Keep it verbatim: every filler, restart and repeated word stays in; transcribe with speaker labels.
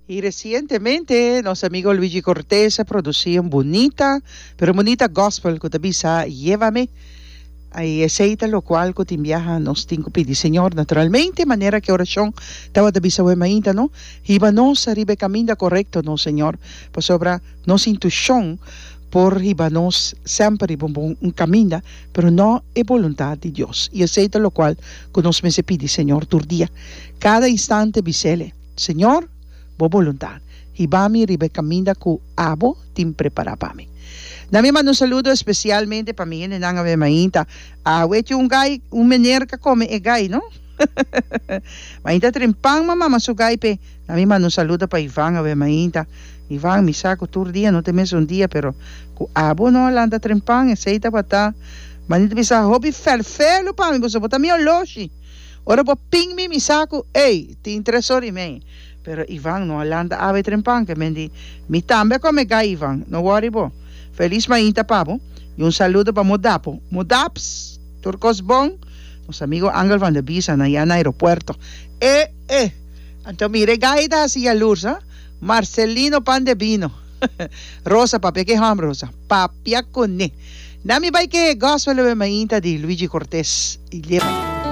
Speaker 1: Y recientemente nos amigo Luigi Cortés a produci un bunita, pero bunita gospel cu ta bisa "Llévame". Y esey ta locual cu tin biaha nos tin cu pidi Señor, naturalmente, manera cu oracion tabata bisa awe mainta, no? Hiba nos riba e caminda corecto, no, Señor. Pasobra nos intuicion por hiba nos semper riba un, un caminda, pero no e boluntad di Dios. Y esey ta locual cu nos mester pidi Señor tur dia. Cada instante bisele: "Señor, bo boluntad. Hiba mi riba e caminda cu abo tin prepara pa mi." Na mi manda un saludo especialmente pa mi hendenan awe mainta. Awe un gai, un meneer cu come e gai, no? Mainta trempan mama su gai pe. Na mi manda un saludo pa Ivan awe mainta. Ivan, mi sa cu tur dia, no ta mesun dia, pero cu abo no lanta trempan, esey tabata. Manita bisa hopi ferfelo pa mi, bo ta mi oloshi. Ora bo ping mi mi sa cu, ey, tin tres or y mei. Pero Ivan no a lanta awe trempan, ke men di, mi tambe come gai, Ivan, no worry bo. Feliz mainta pa bo. Y un saludo pa Modapo. Modaps, tur cos bon. Nos amigo Angel van der Bisa na na aeropuerto. Eh, eh. Anto mira, gai ta haci luz, ha? Marcelino Pan de Vino. Rosa, papia cu ham, Rosa. Papia cu ne. Nami bai cu gospel mainta di Luigi Cortés. Y leva.